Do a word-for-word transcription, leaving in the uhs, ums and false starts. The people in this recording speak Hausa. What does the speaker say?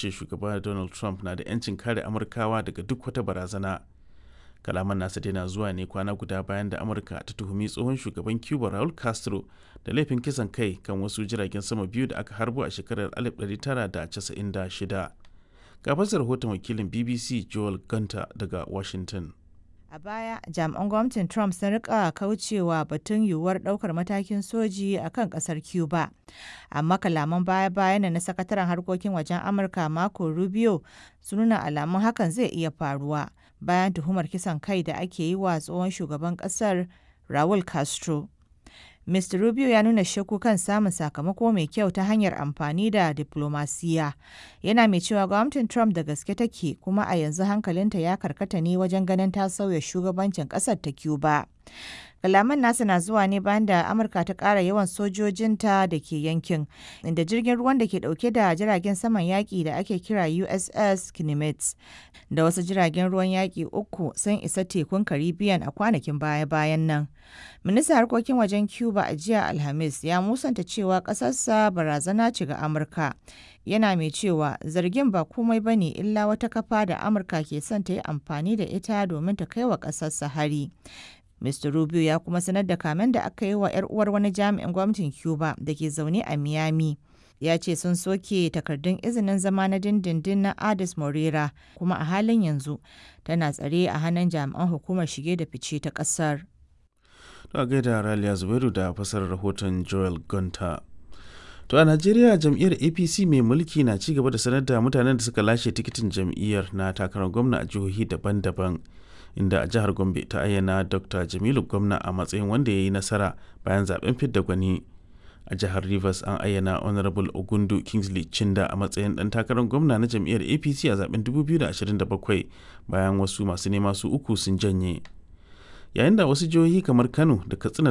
ce shugaba Donald Trump na da 'yancin kare Amurkawa daga duk wata barazana. Kalaman nasa dai na zuwa ne kwana guda bayan da Amurka ta tuhumi tsohon shugaban Cuba Raul Castro da laifin kisan kai kan wasu jiragen sama biyu da aka harbo a shekarar alif ɗari tara da casa'in da shida. Ga fasar rahoton wakilin B B C Joel Gunter daga Washington. A baya, jami'an gwamnatin Trump sun rika kaucewa batun yiwuwar daukar matakin soji a kan kasar Cuba. Amma kalaman baya-bayan na sakataren harkokin wajen Amurka Marco Rubio sun nuna alamun hakan zai iya faruwa bayan tuhumar kisan kai da ake yi wa tsohon shugaban kasar Raul Castro. Mister Rubio ya nuna shakku kan samun sakamako mai kyau ta hanyar amfani da diplomasiya. Yana mai cewa gwamnatin Trump da gaske take, kuma a yanzu hankalinta ya karkata ne wajen ganin ta sauya shugabancin kasar ta Cuba. Kalaman nasa na zuwa ne bayan da Amurka ta ƙara yawan sojojinta da ke yankin, inda jirgin ruwan da ke ɗauke da jiragen saman yaƙi da ake kira U S S Nimitz da wasu jiragen ruwan yaƙi uku sun isa tekun Caribbean a kwanakin baya-bayan nan. Ministan harkokin wajen Cuba a jiya Alhamis ya musanta cewa ƙasarsa barazana ce ga Amurka. Yana mai cewa zargin ba komai ba ne illa wata kafa da Amurka ke son ta yi amfani da ita domin ta kai wa ƙasarsa hari. Mister Rubio ya kuma sanar da kamen da aka yi wa 'yar uwar wani jami'in gwamnatin Cuba da ke zaune a Miami. Ya ce sun soke takardun izinin zama na dindindin na Adis Morera, kuma a halin yanzu tana tsare a hannun jami'an hukumar shige da fice ta kasar. To, a gaida Raliya Zubairu da fasarar rahoton Joel Gunter. To, a Najeriya, jam'iyyar A P C mai mulki na ci gaba da sanar da mutanen da suka lashe tikitin jam'iyyar na takarar gwamna a jihohi daban-daban, inda a jihar Gombe ta ayyana Doctor Jamilu Gwamna a matsayin wanda ya yi nasara bayan zaben fidda gwani. A jihar Rivers, an ayyana Honorable Ogundu Kingsley Chinda a matsayin dan takarar gwamna na jam'iyyar A P C a zaben dubu biyu da ashirin da bakwai bayan wasu masu nema su uku sun janye. Yayin da wasu jihohi kamar Kano da Katsina